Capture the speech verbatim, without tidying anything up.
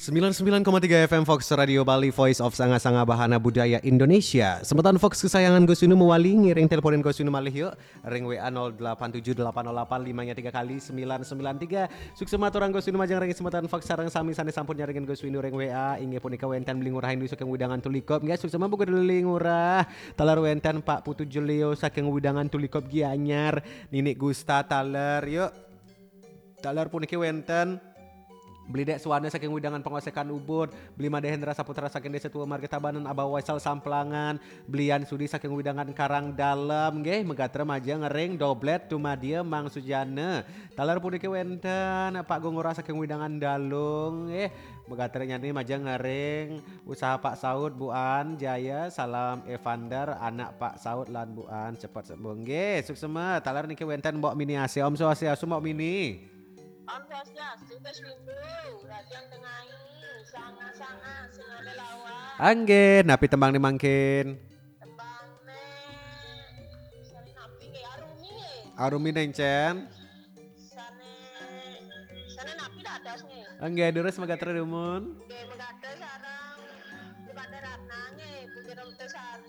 Sembilan sembilan koma tiga F M Fox Radio Bali, Voice of Sanga-Sanga Bahana Budaya Indonesia. Semeton Fox kesayangan Gus Winu mewali, ngiring teleponin Gus Winu malih yuk. Ring W A nol delapan tujuh delapan nol delapan lima-nya tiga kali sembilan sembilan tiga. Suksema aturang Gus Winu majeng ring semeton Fox sareng sami sane sampun nyarengin Gus Winu ring W A. Inggih punika wenten Beli Ngurah Indu saking Widangan Tulikup. Nggih, suksema Beli Ngurah. Taler wenten Pak Putu Jelio saking Widangan Tulikup Gianyar. Ninik Gusta taler yuk. Taler puniki wenten Beli Dek Suwana saking Widangan Pengosekan Ubud, Beli Made Hendra Saputra saking Desa Tua Marga Tabanan, Abah Waisal Samplangan, Beli Yan Sudi saking Widangan Karang Dalem, nggih, megatra majeng ring doblet dumadia Mang Sujana. Taler puniki wenten Pak Gungura saking Widangan Dalung, nggih, megatra nyani majeng ring usaha Pak Saud, Bu An, Jaya, salam Evander, anak Pak Saud lan Bu An, cepet sembuh. Nggih, suksema. Taler niki wenten Mbok Mini Asia. Om Swastiastu, Mbok Mini. Om Swastiastu, Gus Windu, Raden Tengai, sanga-sanga, sing ada lawan. Anggih, napi tembang ni mangkin? Tembang ne, sane napi nggih, Arumi nggih. Arumi nencen. Sane, sane napi dados nggih. Anggih, durus megatra dumun. Nggih, megatra sareng Bu Kade Ratna nggih, Bu Jero Sari.